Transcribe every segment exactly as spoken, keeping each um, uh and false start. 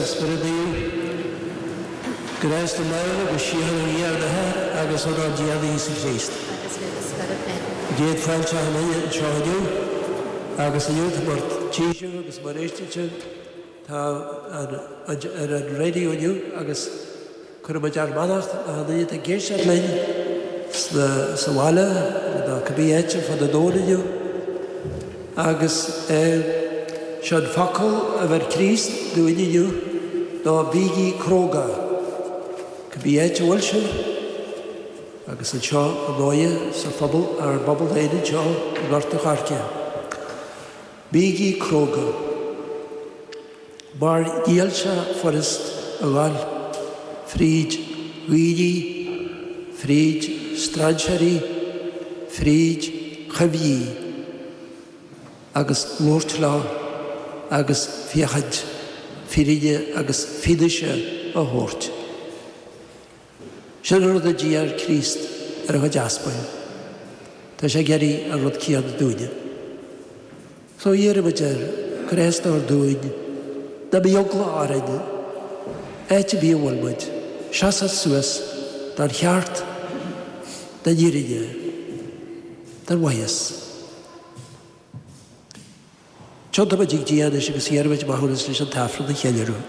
Spiorad Naomh. Grásta náire agus síocháin ó Dhia ár nAthair agus ónár dTiarna Íosa Críost. Agus le do spiorad féin. Céad fáilte achan duine anseo inniu agus inniu mar tchí sibh agus mar éisteann sibh tá ar an raidió inniu agus cuirimid ár mbeannacht achan duine atá ag éisteacht linn sna sa bhaile nó cibé áit ar fud an domhain inniu. Agus seo an focal a bheir Críost dúinn inniu ná bígí cróga. Cibé áit a bhfuil sibh agus anseo ar ndóighe sa phobal ár bpobal féin anseo i nGort an Choirce. Bígí cróga. Mar níl sé furast a ghabháil fríd dhaoine, fríd strainséirí, fríd choimhthí agus labhairt leo agus féachaint fírinne agus fianaise a thabhairt. Sin an rud a d'iarr Críost ar a chuid aspail. Tá sé ag iarraidh an rud céanna dúinne. So iarraimid air grásta a thabhairt dúinn, ná bíodh eagla orainn, áit ar bith a bhfuil muid, seasamh suas don cheart, don fhírinne, don mhaitheas. Tiontóimid chuig Dia anois agus iarraimid maithiúnas leis an tAifreann a cheiliúradh.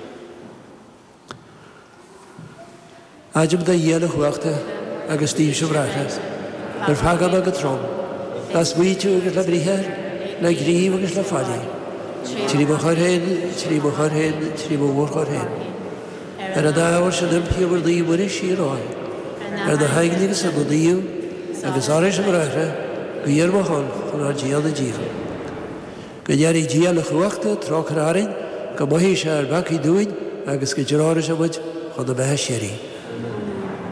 Adhraim a Dhia uilechumhachtaigh agus daoibhse a bhráithre, gur pheaca mé go trom, le smaoitiú agus le briathar, le gníomh agus le faillí, trí mo choir féin, trí mo choir féin, trí mo mhórchoir féin. Ar an ábhar sin impím ar Naomh Muire síoraí, ar na haingil agus ar na naoimh, agus oraibhse a bhráithre, guí ar mo shon chun ár dTiarna Dia. Go n-iarraidh Dia uilechumhachtach trócaire orainn, go maithfidh sé ár bpeacaí dúinn agus go dtreoraidh sé muid chun na beatha síoraí.